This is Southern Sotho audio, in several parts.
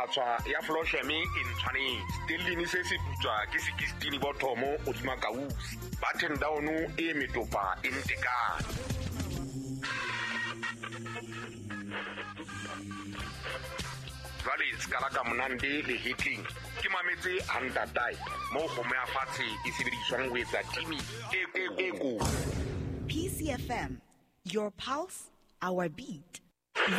Phatshwa ya Flosheme e ntshwanetse. Stellini se se putswa ke 16 bothomo hodima kausi. Button down e metopa e ntekane. Jwale ska ka monande le hitling ke mametse hantatae moo kgomo ya fatshe e sebediswang ho etsa timi e ko. PCFM, your pulse, our beat.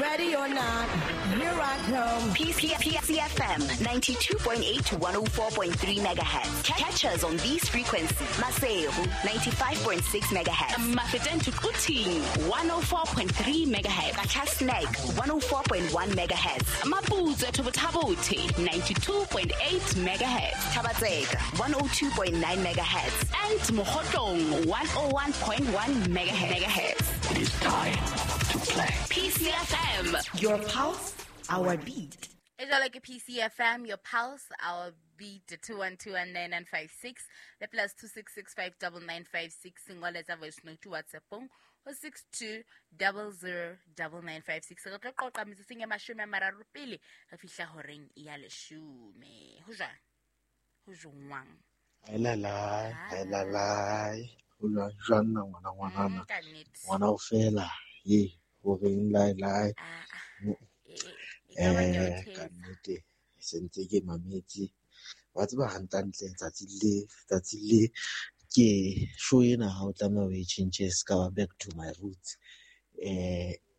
Ready or not, here I come. PCFM 92.8 to 104.3 megahertz. Catch us on these frequencies. Maseru 95.6 megahertz. Mafeteng to Quthing 104.3 megahertz. Qacha's Nek 104.1 megahertz. Maputswe to Botha-Bothe 92.8 megahertz. Thaba-Tseka 102.9 megahertz. And Mokhotlong 101.1 megahertz. It is time to play. PCFM. Your pulse, our beat. E jwalo ke PCFM, your pulse, our beat, 2121956 le plus 266599956. Ngoletsa voice note WhatsAppong ho 62009956. Re tlo qoqa metsotsong e 30 pele re fihla horeng ya 10. Ho jwang? Ho jwang? Haelalai, haelalai. Ho jwang na ngwana ngwanana? Ka nnete. Ngwana o fela, ye, horeng lai lai. E ka ba ke o Ka thetsa. nnete, se ntse ke mametse. Wa tseba hantlentle tsatsi le ke show ena ha o tlameha o e tjhentjhe se ka ba back to my roots.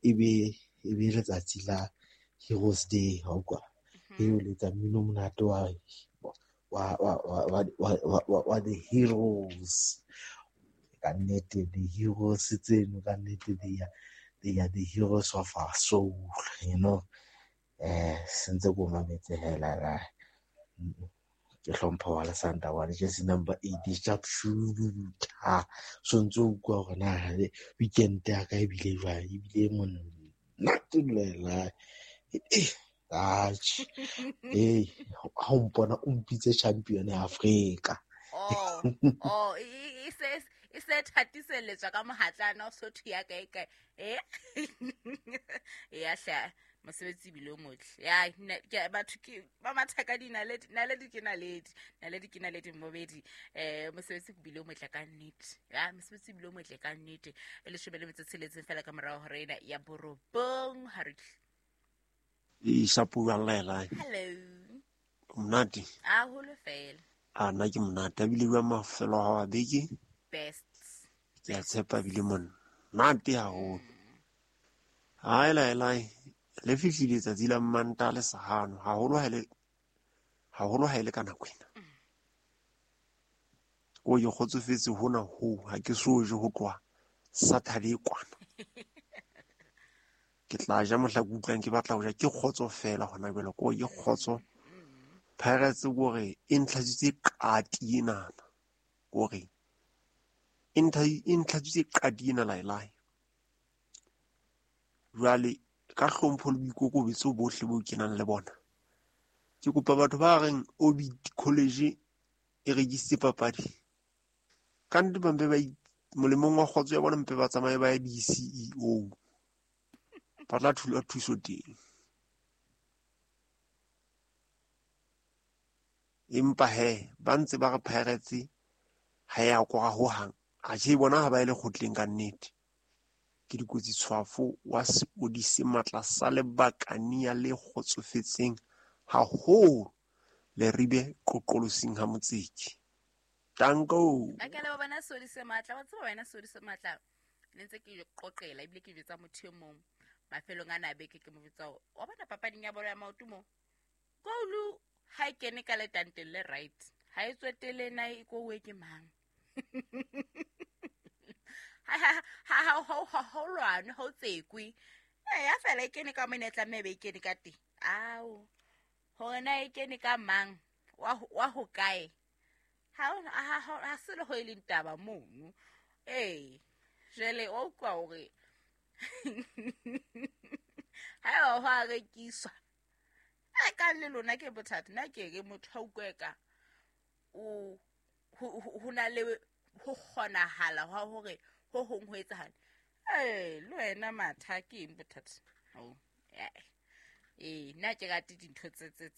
Ebe letsatsi la Heroes Day, ha utlwa. E o letsa mmino o monate wa the heroes. Ka nnete, the heroes tseno, ka nnete, they are the heroes of our soul, you know. Se ntse ko mametse hela la. Ke hlompha wa Lesanta wa jersey number 8 sharp shooter. So ntse o utlwa hore na weekend ya ka ebile jwang, ebile monate lela. Atjhe. Ha o mpona o mpitse champion ya Afrika. Oh, e se e se thatiseletswa ka mohatlana o sotho ya kae kae. Ya hla mosebetsi ebile o motle. Ya ke batho ke ba matha ka dinaledi, naledi ke naledi, naledi ke naledi mmobedi. Mosebetsi ebile o motle ka nnete. Ya mosebetsi ebile o motle ka nnete. E 16 fela ka morao hora ena ya 9 ha re tle. E shapo wa lela. Hello. Monate. Haholo fela. A nna ke monate ebile bua mafelo a wa beke. Best. Ke a tshepa ebile monate haholo. Hai lai lai. Le fihlile letsatsi la Mmantaha le sahano haholo ha ile ka nako ena. O ke kgotsofetse hona ho ha ke so je ho tloha Saturday kwana. Ke tla ja mohla ke utlwang ke batla ho ja, ke kgotso fela hona jwale, ko ke kgotso. Pirates kore e ntlhatswitse qati enana. Kore e ntlhatswitse qati ena lai lai. Jwale ka hlompho le boikokobetso bohle bo ke nang le bona. Ke kopa batho ba reng Orbit College e rekisitse papadi. Ka nnete ba mpe ba molemong wa kgotso ya bona mpe ba tsamaye ba ye di-CEO. Ba tla thula thuso teng. Empa he, ba ntse ba re Pirates ha ya kora hohang. Atjhe bona ha ba ile kgotleng ka nnete. Ke dikotsi tshwafo wa sepodisi matla sa lebakania le kgotsofetseng haholo Leribe qoqolosing ha Motseki. Tanko. A ke le bona sodise matla, wa tseba wena sodise matla. Ne ntse ke qoqela ebile ke jwetsa motho e mong mafelong ana a beke ke mo jwetsa hore, wa bona papading ya bolo ya maoto mo. Goal ha e kene ka letanteng le right. Ha e tswetele na e kowe ke mang. Ha lwane, ha o tsekwe. Ya fela e kene ka mona e tlameha be e kene ka teng. Ao. Hore na e kene ka mang? Wa ho kae? Ha se le ho e leng taba mono. Jwale wa utlwa hore ha eba ho a rekiswa. A ka le lona ke bothata. Nna ke re motho ha utlwe ka o ho na le ho kgonahala hwa hore ho hong ho etsahale. Le wena matha ke eng bothata? Nna ke rate dintho tse